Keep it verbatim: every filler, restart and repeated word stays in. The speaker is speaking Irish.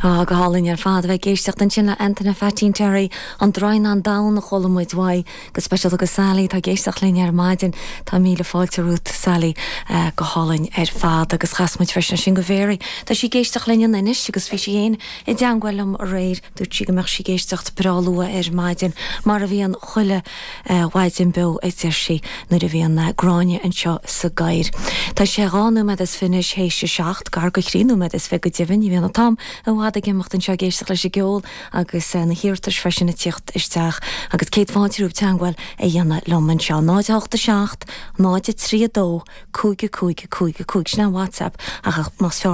Á go hálainn ar fad bheith ag éisteacht ansin le Antaine Phaidí Terry an Draighneán Donn a chuala muid uaidh go speisialta go Sally tá ag éisteacht linn ar maidin Tá míle fáilte romhat Sally uh, go hálainn ar fad agus chas muid freisin sin go Mary. Tá sí ag éisteacht linn anois agus bhí sí féin i dteagmháil liom aréir dúirt sí go mbeadh sí ag éisteacht breá luath ar maidin mar a bhíonn chuile uh, mhaidin beo a deir sí nuair a bhíonn uh, Gráinne anseo sa gcathaoir. Tá sé dhá nóiméad is fiche théis a seacht gar go trí nóiméad is fiche go deimhin, bhíonn an t-am i bhfad ag imeacht anseo ag éisteacht leis an gceol agus uh, na hiarratais freisin ag teacht isteach agus céad fáilte romhaibh teagmháil a dhéanamh liom anseo náid hocht a seacht, náid trí dó, cúig cúig cúig cúig sin WhatsApp ach más fearr